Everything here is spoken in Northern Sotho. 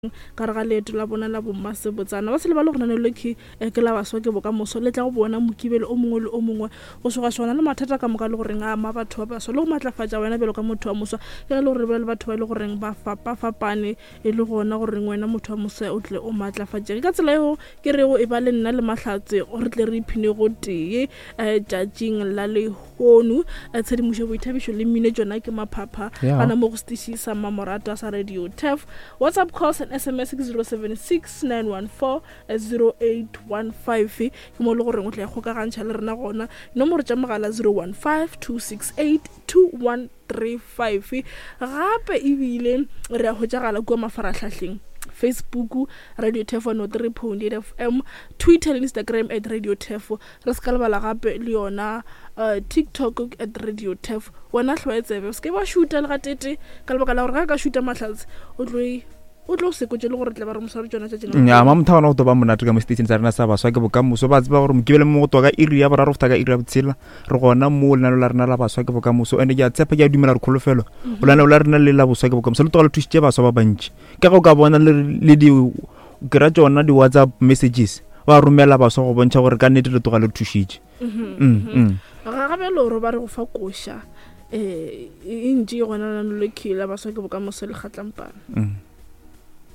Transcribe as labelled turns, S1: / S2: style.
S1: Ka re ga leeto la bona la bommasebotsana ba se lebale gore lenaneo le ke eh, ke la baswa ke bokamoso le tla go bona mokibelo o mongwe le o mongwe go swagaswana le mathata ka moka le goreng a ama batho ba baswa le go matlafatša wena bjalo ka motho wa moswa ke ge le gore re bolela le batho ba e le goreng ba fapafapane e le gona goreng wena motho wa moswa o tle o matlafatšege ka tsela eo ke rego e ba le nna le mahlatse re tle re iphine go tee um tšatšing la lehono eh, tshedimošo boithabišo le mmino tšona ke maphapha gana mo go setiši sa mmamoratwa sa radio tef Whatsapp calls and SMS ke 076 914 0815 ke mo le goreng o tla ikgokagantšha le rena gona. Nomoro tša mogala 015 268 2135. Gape ebile re a hwetšagala kua mafarahlahleng Facebook Radio Tefo 103.8 FM, Twitter le Instagram at Radio Tefo. Re se ka lebala gape le yona uh, TikTok at Radio Tefo. Wena hlwae tsebe o se ke wa šuta le gatete ka lebaka la gore ga a ka šuta mahlatse o tlo e- o tlo se kwetse le gore tle ba re mosware tsona tšatši la
S2: ya mamotha gona go to ba monate ka mo station sa rena sa baswa ke bokamoso ba tseba gore mokibele mo go toka iri ya boraro go feta ka iri ya botshela re gona mo lenaneo la rena la baswa ke bokamoso ande ke a tshepa ke a dumela re kholofelo go lenaneo la rena le la boswa ke bokamoso le toga le thusitše baswa ba bantši ka ge o ka bona le le di kry-a tsona di-whatsapp messages ba romela baswa go bontšha gore ka nnete le toga le thušitše mm, mm.
S1: Ga ga bjalo re ba re go fa koša um e ntši e gona lanolekhi la baswa ke bokamoso le kgatlampana.
S2: Mm.